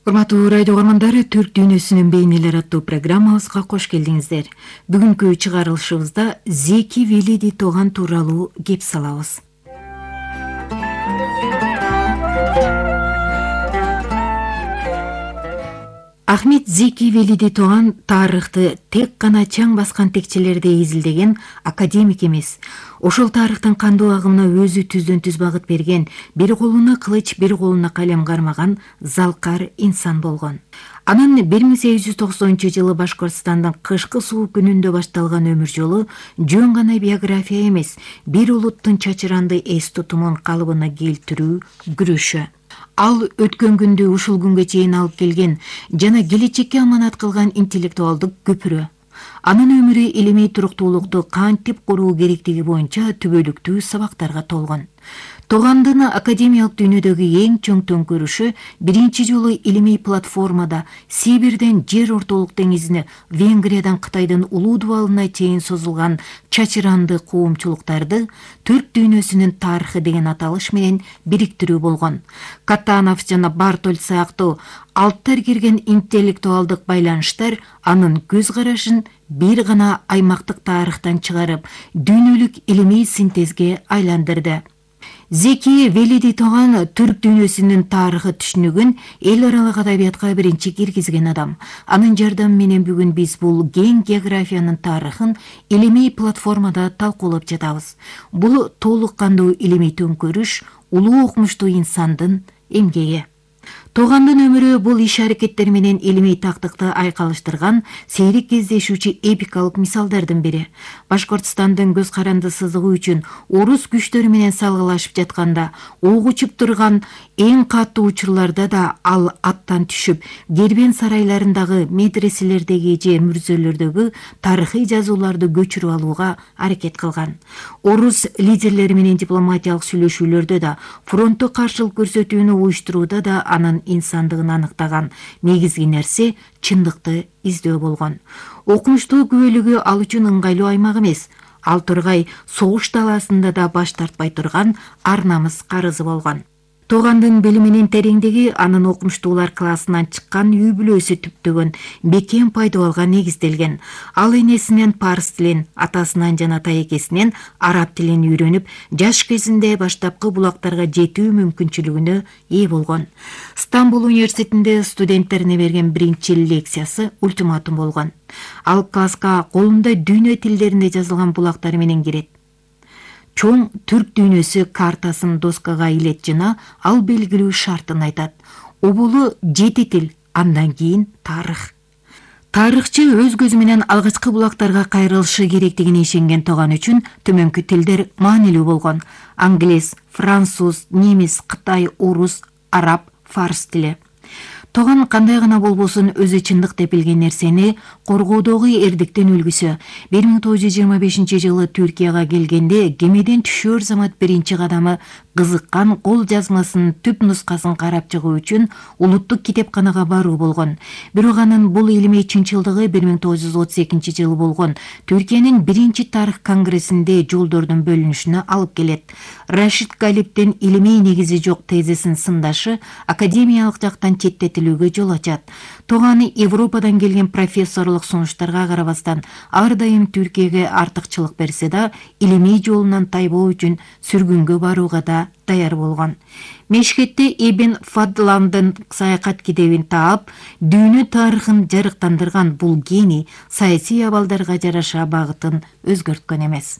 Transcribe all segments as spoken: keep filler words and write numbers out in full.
Урматтуу радио угармандары, Түрк дүйнөсүнүн бейнелери аттуу программабызга кош келдиңиздер. Бүгүнкү чыгарылышыбызда Зеки Велиди Тоган тууралуу кеп салабыз. Ахмет Зеки Велиди Тоган тарыхты тек гана чаң баскан текчелерде изилдеген академик эмес. Ошол тарыхтын кандуу агымына өзү түздөн түз багыт берген, бир колуна кылыч, бир колуна калем кармаган залкар инсан болгон. Анын бир миң сегиз жүз токсонунчу жылы Башкортостандын кышкы суук күнүндө башталган өмүр жолу жөн гана биография эмес, бир улуттун чачыранды эс тутумун калыбына келтирүү күрөшү. Ал өткөн күндү ушул күнгө чейин алып келген жана келечекке аманат кылган интеллектуалдык көпүрө. Анын өмүрү илимий туруктуулукту кантип куруу керектиги боюнча түбөлүктүү сабактарга толгон. Тогандын академиялык дүйнөдөгү эң чоң төңкөрүшү биринчи жолу илимий платформада Сибирден жер ортолук деңизине, Венгриядан Кытайдын улуу дубалына чейин созулган чачыранды коомчулуктарды Түрк дүйнөсүнүн тарыхы деген аталыш менен бириктирүү болгон. Катанов жана Бартоль сыяктуу алттар кирген интеллектуалдык байланыштар анын көз карашын бир гана аймактык тарыхтан чыгарып, дүйнөлүк илимий синтезге айландырды. Зеки Велиди Тоган түрк дүйнөсүнүн тарыхы түшүнүгүн эл аралык адабиятка биринчи киргизген адам. Анын жардамы менен бүгүн биз бул кең географиянын тарыхын илимий платформада талкуулап жатабыз. Бул толук кандуу илимий төңкөрүш улуу окумуштуу инсандын эмгеги. Тогандын өмүрү бул иш-аракеттер менен илимий тактыкты айкалыштырган сейрек кездешүүчү эпикалык мисалдардын бири. Башкортостандын көз каранды сызыгы үчүн орус күчтөрү менен салгылашып жатканда, ок учуп турган эң катуу учурларда да ал аттан түшүп, Кербен сарайларындагы, медреселердеги же мүрзөлөрдөгү тарыхый жазууларды көчүрүп алууга аракет кылган. Орус лидерлери менен дипломатиялык сүйлөшүүлөрдө да, фронтту каршылык көрсөтүүнү уюштурууда да анын инсандыгын аныктаган негизги нерсе чындыкты издөө болгон. Окумуштуу күбөлүгү ал үчүн ыңгайлуу аймак эмес, ал тургай согуш талаасында да баш тартпай турган ар намыс карызы болгон. Тогандын билиминин тереңдиги анын окумуштуулар классынан чыккан үй бүлөсү түптөгөн бекем пайдубалга негизделген. Ал энесинен парс тилин, атасынан жана тайекесинен араб тилин үйрөнүп, жаш кезинде баштапкы булактарга жетүү мүмкүнчүлүгүнө ээ болгон. Стамбул университетинде студенттерине берген биринчи лекциясы ультиматум болгон. Ал класска колунда дүйнө тилдеринде жазылган булактары менен кирет. Чоң түрк дүйнөсү картасын доскага илет жана ал белгилүү шартын айтат. Оболу жети тил, андан кийин тарых. Тарыхчы өз көзү менен алгачкы булактарга кайрылышы керектигине ишенген Тоган үчүн төмөнкү тилдер маанилүү болгон. Англис, француз, немис, кытай, орус, араб, фарс тили. Тоган кандай гана болбосун өзү чындык деп билген нерсени коргоодогу эрдиктин үлгүсү. бир миң тогуз жүз жыйырма бешинчи жылы Түркияга келгенде кемеден түшөр замат биринчи кадамы кызыккан кол жазмасынын түп нускасын карап чыгуу үчүн улуттук китепканага баруу болгон. Бирок анын бул илимий чынчылдыгы бир миң тогуз жүз отуз экинчи жылы болгон Түркиянын биринчи тарых конгрессинде жолдордун бөлүнүшүнө алып келет. Рашид Галиптин илимий негизи жок тезисин сындашы академиялык жактан четтетилүүгө жол ачат. Тоган Европадан келген профессорлук сунуштарга карабастан ар дайым Түркияга артыкчылык берсе да, илимий жолунан тайбоо үчүн сүргүнгө барууга да даяр болгон. Мешхетте Ибн Фадландын саякат китебин таап, дүйнө тарыхын жарыктандырган бул гений саясий абалдарга жараша багытын өзгөрткөн эмес.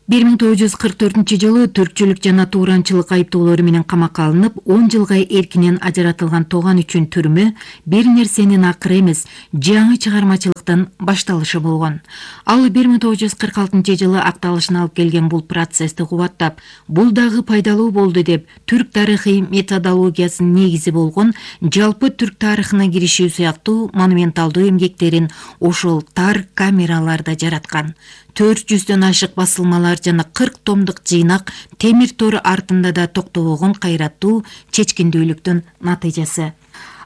бир миң тогуз жүз кырк төртүнчү жылы түркчүлүк жана тууранчылык айыптоолору менен камакка алынып, он жылга эркинен ажыратылган Тоган үчүн түрмө бир нерсенин акыры эмес, жаңы чыгармачылыктын башталышы болгон. Ал бир миң тогуз жүз кырк алтынчы жылы акталышын алып келген бул процессти кубаттап, бул дагы пайдалуу болду деп, түрк тарыхый методологиясынын негизи болгон жалпы түрк тарыхына киришүү сыяктуу монументалдуу эмгектерин ошол тар камераларда жараткан. төрт жүздөн ашык басылмалар жана кырк томдук жыйнак темир тор артында да токтобогон кайраттуу чечкиндүүлүктүн натыйжасы.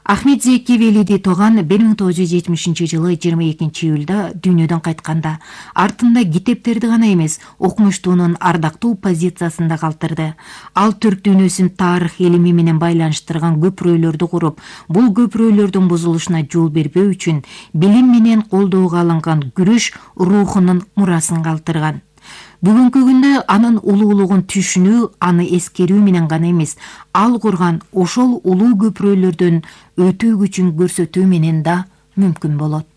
Ахмет Зеки Велиди Тоган бир миң тогуз жүз жетимишинчи жылы жыйырма экинчи июлда дүйнөдөн кайтканда артында китептерди гана эмес, окумуштуунун ардактуу позициясын да калтырды. Ал түрк дүйнөсүн тарых илими менен байланыштырган көпүрөлөрдү куруп, бул көпүрөлөрдүн бузулушуна жол бербөө үчүн билим менен колдоого алынган күрөш рухунун мурасын калтырган. Бүгүнкү күндө анын улуулугун түшүнүү, аны эскерүү менен гана эмес, ал курган ошол улуу көпүрөлөрдөн өтүү күчүн көрсөтүү менен да мүмкүн болот.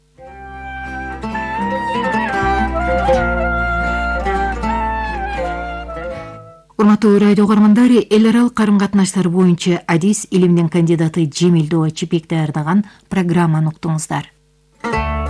Урматтуу радио угармандар, эл аралык карым катнаштар боюнча адис илимдин кандидаты Жемил Доо Чипек даярдаган программаны уктуңуздар.